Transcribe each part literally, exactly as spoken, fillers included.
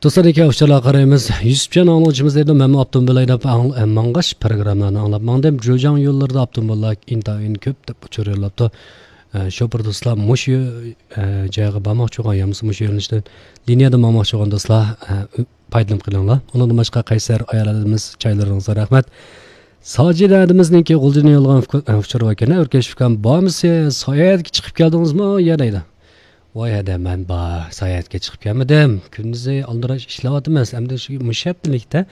دوستلار، ئۇچۇرلارغا قارايمىز. يۈسۈپجان ئاڭلىغۇچىمىز دەيدۇ، مەنمۇ ئاپتوموبىل ھەيدەپ ئاڭ-، ئە، ماڭغاچ پروگراممىلارنى ئاڭلاپ ماڭدىم. جۇجاڭ يوللىرىدا ئاپتوموبىللار ئىنتايىن كۆپ دەپ ئۇچۇر يوللاپتۇ. ئە، شوپۇر دوستلار، مۇشۇ، ئە، جايغا بارماقچى بولغان يا بولمىسا مۇشۇ يۆنىلىشتىن لىنىيەدە ماڭماقچى بولغان دوستلار، ئە، ئۈ-، پايدىلىنىپ قېلىڭلار. ئۇنىڭدىن باشقا قەيسەر ئايال ئادىمىمىز چايلىرىڭىزغا رەھمەت. ساجىدە ئادىمىزنىڭكى غۇلجىدىن يوللىغان ئۇچۇر باركەن، ئۆركەش ئۇكام، بارمىسىز، ساياھەتكە چىقىپ كەلدىڭىزمۇ يا دەيدۇ. ۋاي ھەدە، مەن بار، ساياھەتكە چىقىپ كەلمىدىم. كۈندۈزى ئالدىراش ئىشلەۋاتىمىز. ئەمدى شۇ مۇشۇ ھەپتىلىكتە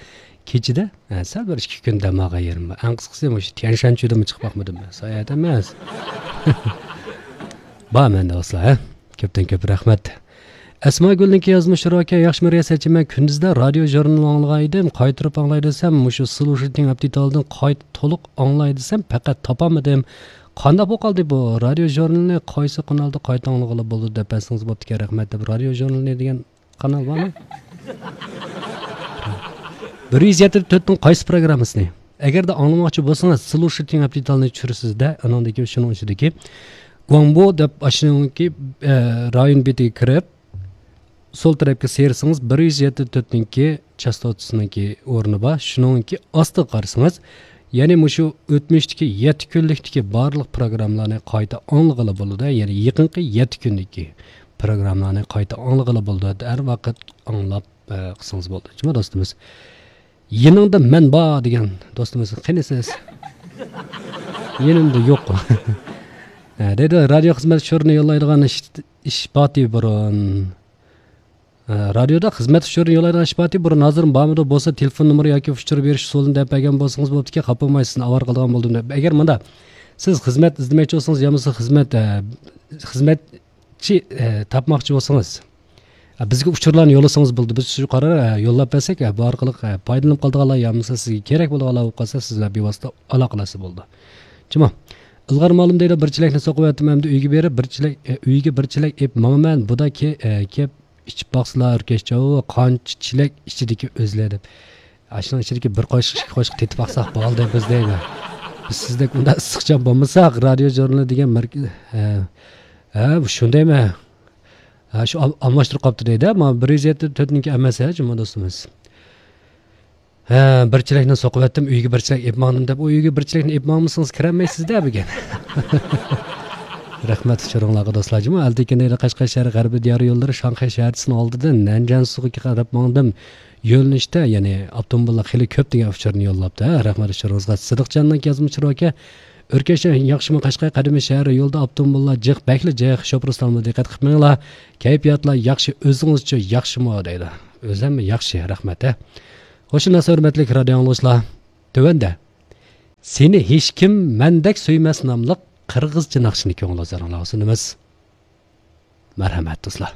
كېچىدە، ھە، سەل بىر ئىككى كۈن دەم ئالغان يېرىم بار. ئەڭ قىسقىسى مۇشۇ تيەنشانچۈدىمۇ چىقىپ باقمىدىم مەن. ساياھەت ئەمەس. بار مەندە دوستلار، ھە. كۆپتىن كۆپ رەھمەت. ئەسماگۈلنىڭكى يازمىشى ئۇچۇر ئاكا، ياخشىمۇ رىياسەتچى، مەن كۈندۈزدە رادىيو ژۇرنىلى ئاڭلىغان ئىدىم، قايتۇرۇپ ئاڭلاي دېسەم، مۇشۇ سلۇشىتىڭ ئەپتىتالدىن قايتا تولۇق ئاڭلاي دېسەم، پەقەت تاپالمىدىم. قانداق بولۇپ قالدى بۇ؟ رادىيو ژۇرنىلىنى قايسى قانالدا قايتا ئاڭلىغىلى بولىدۇ دەپ بەرسىڭىز بوپتىكەن، رەھمەت دەپ. رادىيو ژۇرنىلى دېگەن قانال بارمۇ؟ بىر يۈز يەتتە تۆتنىڭ قايسى پروگراممىسىنى؟ ئەگەردە ئاڭلىماقچى بولسىڭىز، سلۇشىتىڭ ئەپتىتالنى چۈشۈرىسىز-دە، ئاناندىكى شۇنىڭ ئىچىدىكى گۇاڭبو دەپ ئاشۇنىڭكى، ئە، رايون بېتىگە كىرىپ، سول تەرەپكە سىيرىسىڭىز، بىر يۈز يەتتە تۆتنىڭكى چاستوتىسىنىڭكى ئورنى بار. شۇنىڭكى ئاستىغا قارىسىڭىز، يەنى مۇشۇ ئۆتمۈشتىكى يەتتە كۈنلۈكتىكى بارلىق پروگراممىلارنى قايتا ئاڭلىغىلى بولىدۇ. يەنى يېقىنقى يەتتە كۈندىكى پروگراممىلارنى قايتا ئاڭلىغىلى بولىدۇ. ھەر ۋاقىت ئاڭلاپ، ئە، قىلسىڭىز بولىدۇ. جۇمۇ دوستىمىز. يېنىڭدا مەن بار دېگەن دوستىمىز. قېنى سىز؟ يېنىمدا يوق. ئە، دەيدۇ، رادىيو خىزمەت ئۇچۇرىنى يوللايدىغان ئىش، ئىش باتى بۇرۇن. ئە، رادىيودا خىزمەت ئۇچۇرىنى يوللايدىغان ئىش باتى بۇرۇن ھازىرمۇ بارمىدۇ؟ بولسا تېلېفون نومۇرى ياكى ئۇچۇر بېرىش ئۇسۇلىنى دەپ بەرگەن بولسىڭىز بوپتىكەن، خاپا بولماي، سىزنى ئاۋارە قىلىدىغان بولدۇم دەپ. ئەگەر مۇنداق، سىز خىزمەت ئىزدىمەكچى بولسىڭىز يا بولمىسا خىزمەت، ئە، خىزمەتچى، ئە، تاپماقچى بولسىڭىز، ئە، بىزگە ئۇچۇرلارنى يوللىسىڭىز بولىدۇ. بىز شۇ قارار، ئە، يوللاپ بەرسەك، ئە، بۇ ئارقىلىق، ئە، پايدىلىنىپ قالىدىغانلار يا بولمىسا سىزگە كېرەك بولىدىغانلار بولۇپ قالسا، سىز بىلەن بىۋاسىتە ئالاقىلەشسە بولىدۇ. جۇمۇ. ئىلغار مالىم دەيدۇ، بىر چېلەكنى سوقۇۋەتتىم، ئەمدى ئۆيگە بېرىپ بىر چېلەك، ئە، ئۆيگە بىر چېلەك ئېلىپ ماڭىمەن، بۇدا كە-، ئە، كەپ ئىچىپ باقسىلا ئۆركەشچاۋۇ، قانچە چېلەك ئىچىدىكى ئۆزلە دەپ. ئاشۇنىڭ ئىچىدىكى بىر قوشۇق، ئىككى قوشۇق تېتىپ باقساق بولدى بىز دەيمەن. بىز سىزدەك ئۇنداق ئىسسىقچان بولمىساق، رادىيو ژۇرنىلى دېگەن مەركە-، ھە، ھە، شۇندايمەن. ھە، شۇ ئال-، ئالماشتۇرۇپ قاپتۇ دەيدۇ. مانا بىر يۈز يەتتە تۆتنىڭكى ئەمەس، ھە، جۇمۇ دوستىمىز. ھە، بىر چېلەكنى سوقۇۋەتتىم، ئۆيگە بىر چېلەك ئېلىپ ماڭدىم دەپ، ئۇ ئۆيگە بىر چېلەكنى ئېلىپ ماڭمىسىڭىز كىرەلمەيسىز-دە بۈگۈن. رەھمەت ئۇچۇرۇڭلارغا دوستلار. جۇمۇ ئەلتىكىن دەيدۇ، قەشقەر شەھىرى غەربىي دىيارى يوللىرى شاڭخەي شەھەرچىسىنىڭ ئالدىدىن نەنجيەنسۇغا قاراپ ماڭدىم. يۆنىلىشتە، يەنى ئاپتوموبىللار خېلى كۆپ دېگەن ئۇچۇرنى يوللاپتۇ. ھە، رەھمەت ئۇچۇرىڭىزغا. سىدىقجاننىڭ يازمىشى ئۇچۇر ئاكا، ئۆركەشتە ياخشىمۇ قەشقەر قەدىمىي شەھەر، يولدا ئاپتوموبىللار جىق، بەكلا جىق. شوپۇر ئۇستاممۇ دىققەت قىلىپ مېڭىڭلار. كەيپىياتلار ياخشى، ئۆزىڭىزچۇ ياخشىمۇ دەيدۇ. ئۆزۈم ياخشى، رەھمەت، ھە. خوش ئامراق ھۆرمەتلىك رادىيو ئاڭلىغۇچىلار. تۆۋەندە سېنى ھېچكىم مەندەك سۆيمەس ناملىق قىرغىزچە ناخشىنى كۆڭۈل ھۇزۇرۇڭلارغا سۇنىمىز. مەرھەمەت، دوستلار.